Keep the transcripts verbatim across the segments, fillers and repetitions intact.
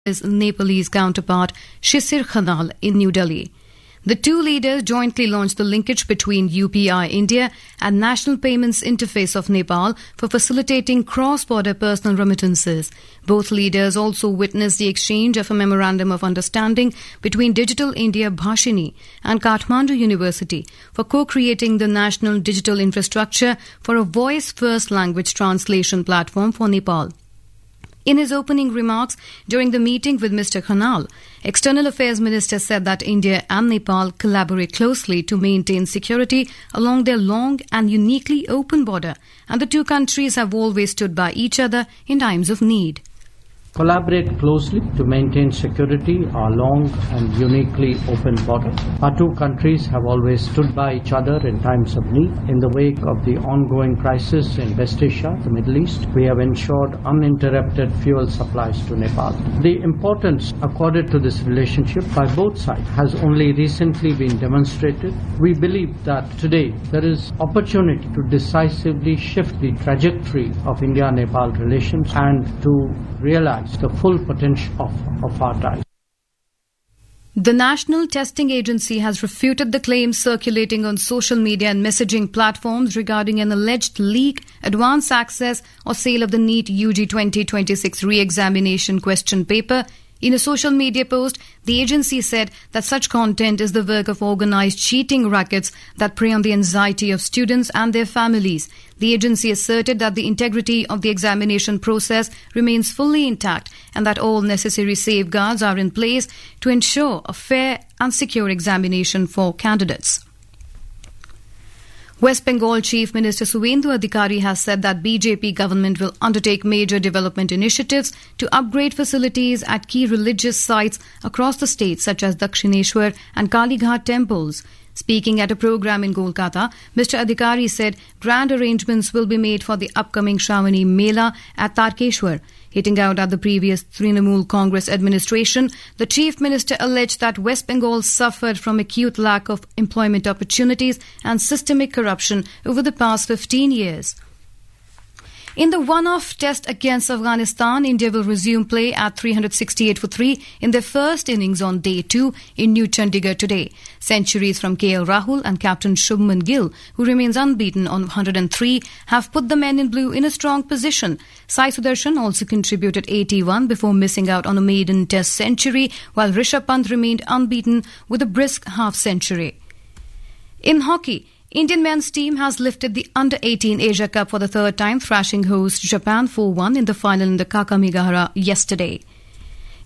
his Nepalese counterpart, Shisir Khanal, in New Delhi. The two leaders jointly launched the linkage between U P I India and National Payments Interface of Nepal for facilitating cross-border personal remittances. Both leaders also witnessed the exchange of a memorandum of understanding between Digital India Bhashini and Kathmandu University for co-creating the national digital infrastructure for a voice-first language translation platform for Nepal. In his opening remarks during the meeting with Mister Khanal, External Affairs Minister said that India and Nepal collaborate closely to maintain security along their long and uniquely open border, and the two countries have always stood by each other in times of need. Collaborate closely to maintain security our long and uniquely open border. Our two countries have always stood by each other in times of need. In the wake of the ongoing crisis in West Asia, the Middle East, we have ensured uninterrupted fuel supplies to Nepal. The importance accorded to this relationship by both sides has only recently been demonstrated. We believe that today there is opportunity to decisively shift the trajectory of India-Nepal relations and to realize the full potential of, of our ties. The National Testing Agency has refuted the claims circulating on social media and messaging platforms regarding an alleged leak, advance access, or sale of the NEET U G twenty twenty-six re-examination question paper. In a social media post, the agency said that such content is the work of organized cheating rackets that prey on the anxiety of students and their families. The agency asserted that the integrity of the examination process remains fully intact and that all necessary safeguards are in place to ensure a fair and secure examination for candidates. West Bengal Chief Minister Suvendu Adhikari has said that B J P government will undertake major development initiatives to upgrade facilities at key religious sites across the state, such as Dakshineshwar and Kalighat temples. Speaking at a program in Kolkata, Mister Adhikari said grand arrangements will be made for the upcoming Shravani Mela at Tarkeshwar. Hitting out at the previous Trinamool Congress administration, the Chief Minister alleged that West Bengal suffered from acute lack of employment opportunities and systemic corruption over the past fifteen years. In the one-off test against Afghanistan, India will resume play at three hundred sixty-eight for three in their first innings on day two in New Chandigarh today. Centuries from K L Rahul and captain Shubman Gill, who remains unbeaten on one hundred and three, have put the men in blue in a strong position. Sai Sudarshan also contributed eighty-one before missing out on a maiden test century, while Rishabh Pant remained unbeaten with a brisk half century. In hockey, Indian men's team has lifted the under eighteen Asia Cup for the third time, thrashing host Japan four one in the final in the Kakamegahara yesterday.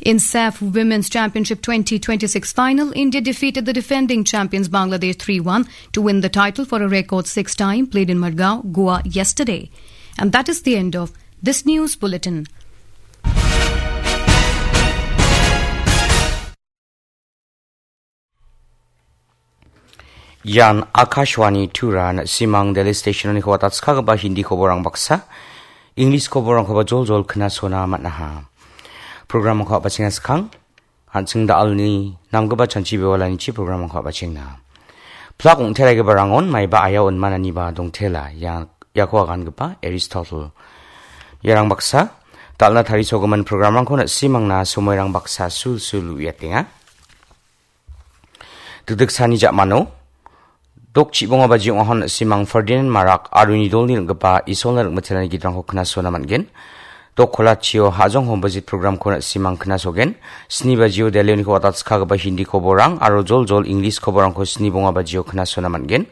In SAFF Women's Championship twenty twenty-six final, India defeated the defending champions Bangladesh three one to win the title for a record sixth time, played in Margao, Goa yesterday. And that is the end of this news bulletin. Ian Akashvani Tura, na·simang Delhi Station-oniko watatskagipa Hindi koborang baksa, English koborangkoba joljol knasona man·aha. Programrangko a·bachenga skang, an·ching da·alni namgipa chanchi bewalanichi programrangko a·bachenga. Plak ong·teraigipa rangon maiba aya on mananiba dongtela, ia-, iako agangipa Aristotle. Iarang baksa, da·alna tarisogimin programrangko na·simangna somoirang baksa sulsul uiatenga. Dikdiksani ja·mano, dok chibonga baji ong·ahon na·simang Ferdinand Marak aro nidolni ring·gipa Isolna ring·mitelani gitrangko knasona man·gen. Dok kolachio Hajong Hombajit programko na·simang knasogen. Sni bajio Delhi-oniko watatskagipa Hindi koborang aro joljol English koborangko sni bonga bajio knasona man·gen.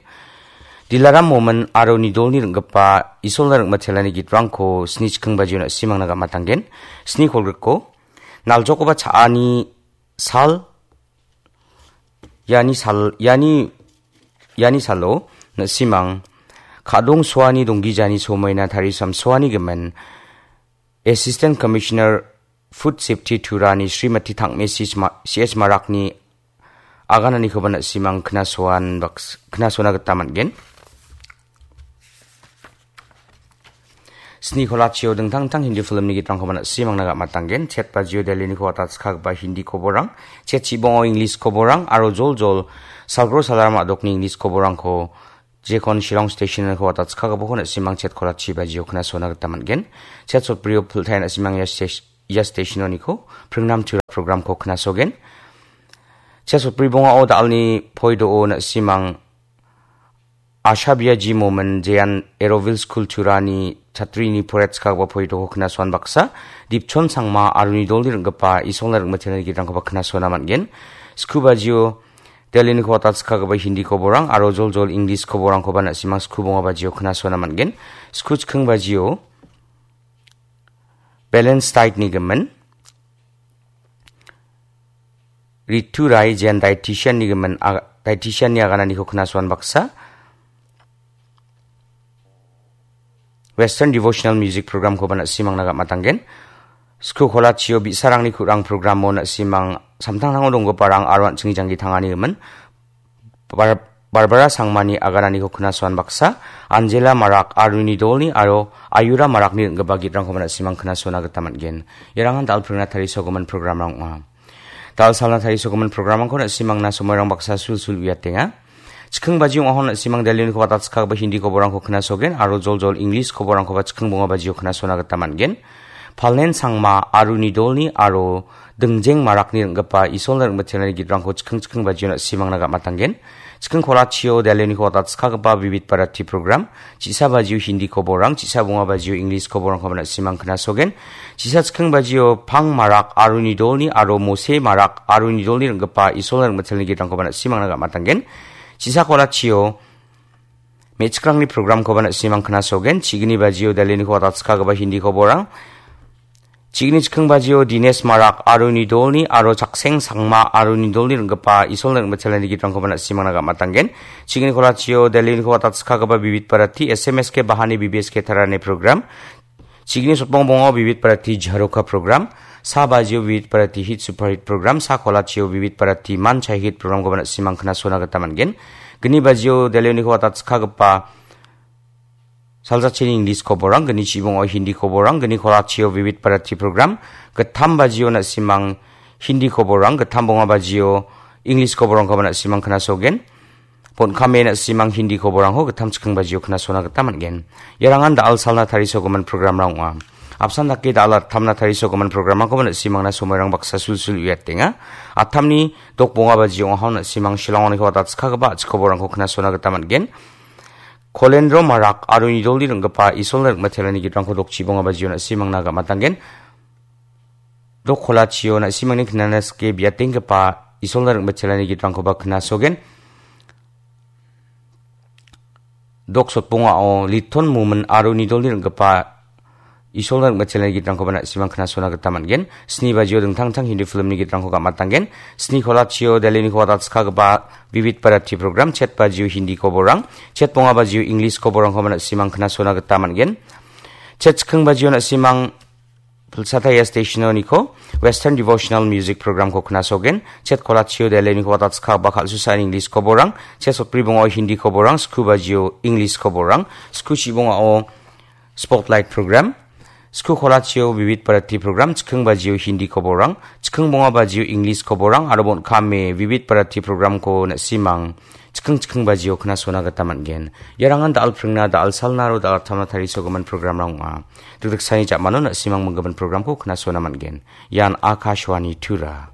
Dilaram Momin aro nidolni ring·gipa Isolna ring·mitelani gitrangko sni chiking bajio na·simangna gam·atanggen. Sni kolgrikko, naljokoba cha·ani sal, iani sal, iani, iani salo, na·simang, kadong soani donggijani somoina tarisam soani gimin, Assistant Commissioner Food Safety Turani Srimati Tangme C H Ma-, C H Marakni agananikoba na·simang knasoan baks-, knasona gita man·gen. Sni kolachio dingtang dingtang Hindi filmni gitrangkoba na·simangna gam·atanggen. Chet bajio Delhi-niko watatskagipa Hindi koborang, chet chibongo English koborang, aro joljol salgro salaram a·dokni English koborangko jekon Shillong Station-niko watatskagipako na·simang chet kolachi bajio knasona gita man·gen. Chet sotbrio piltai na·simang ia stes-, ia stationoniko pringnam tura programko knasogen. Chesotbri bongao dalni poido na·simang Ashabia G Momin Jean Eroville School Turani chatrini poretskagba poitoko knasoan baksa, Dipchon Sangma aro nidolni ringgipa Isolna ringmitelni gitrangkoba knasona man·gen. Skubajio Delhi ni kota skagaba Hindi koborang aro joljol English koborangkoba na·simang skubonga bajio knasona man·gen. Sku chiking bajio Balance Diet ni gimin. Ritu Rai Jen Dietitian ni gimin, ag-, dietitian ni agananiko knasoan baksa. Western Devotional Music Program koba na·simangna gam·atanggen. Sku kolachio bi·sarangni ku·rang programo na·simang samtangtango donggiparang aro an·chingni janggi tangani gimin. Bar-, Barbara Sangmani agananiko knasoan baksa, Angela Marak aro nidolni aro Ayura Marakni ringgipa gitrangkoba na·simang knasona gita man·gen. Iarangan dal·pringna tarisogimin programrang ong·a. Dal·salna tarisogimin programrangko na·simangna somoirang baksa sulsul uiatenga. Chiking baji ong·ahon na·simang Delhi ni kota skagaba Hindi koborangko knasogen aro joljol English koborangkoba chiking bonga bajio knasona gita man·gen. Palen Sangma aro nidolni aro Dingjeng Marakni ringgipa Isolna ringmitelni gitrangko chiking chiking bajio na·simangna gam·atanggen. Chiking kolachio Delhi ni kota skagaba Vivid Bharati program, chisa bajio Hindi koborang, chisa bonga bajio English koborangkoba na·simang knasogen. Chisa chiking bajio Pang Marak aro nidolni aro Mose Marak aro nidolni ringgipa Isolna ringmitelni gitrangkoba na·simangna gam·atanggen. Chisa kolachio me·chikrangni programkoba na·simang knasogen, chigni bajio Delhi ni kota skagaba Hindi koborang. Chigni chiking bajio Dinesh Marak aro nidolni aro Chakseng Sangma aro nidolni ringgipa Isolna ringmitelni gitrangkoba na·simangna gam·atanggen. Chigni kolachio Delhi ni kota skagaba Vivid Bharati S M S K Bahani B B S K Tarani program. Chigni sotbong bongo Vivid Bharati Jharoka program, sa bajio Vivid Bharati Hit Super Hit program, sa kolachio Vivid Bharati Man Chai Hit programkoba na·simang knasona gita man·gen. Gni bajio Delhi ni kota skagaba Saljachini English koborang, gni chibongo Hindi koborang, gni kolachio Vivid Bharati program, gittam bajio na·simang Hindi koborang, gittam bonga bajio English koborangkoba na·simang knasogen. Ponkame na·simang Hindi koborangko gittam chiking bajio knasona gita man·gen. Iarangan dal·salna tarisogimin programrang ong·a. Apsan dake dal·attamna tarisogimin programrangkoba na·simangna somoirang baksa sulsul uiatenga. Attamni dok bonga bajio ong·ahon na·simang Shillongni kota skagaba a·chik koborangko knasona gita man·gen. Kolendro Marak aro nidolni ringgipa Isolna ringmitelni gitrangko dokchi bonga bajio na·simangna gam·atanggen. Dok kolachio na·simangni knana sike biatenggipa Isolna ringmitelni gitrangkoba knasogen. Dok sotbongao Liton Mumin aro nidolni ringgipa Isolna ringmitelni gitrangkoba na·simang knasona gita man·gen. Sni bajio dingtang dingtang Hindi filmni gitrangko gam·atanggen. Sni kolachio Delhi ni kota skagaba Vivid Bharati program, chet bajio Hindi koborang, chet bonga bajio English koborangkoba na·simang knasona gita man·gen. Chet chiking bajio na·simang Pilsataya stationoniko Western Devotional Music programko knasogen, chet kolachio Delhi ni kota skagaba kal·susa English koborang, chet sotbri bongao Hindi koborang, sku bajio English koborang, sku chibongao Spotlight program, sku kolachio Vivid Bharati program, chiking bajio Hindi koborang, chiking bonga bajio English koborang, aro bon·kame Vivid Bharati programko na·simang chiking chiking bajio knasona gita man·gen. Iarangan dal·pringna dal·salna aro dal·attamna tarisogimin programrang ong·a. Dikdiksani ja·mano na·simang minggimin programko knasona man·gen. Ian Akashvani Tura.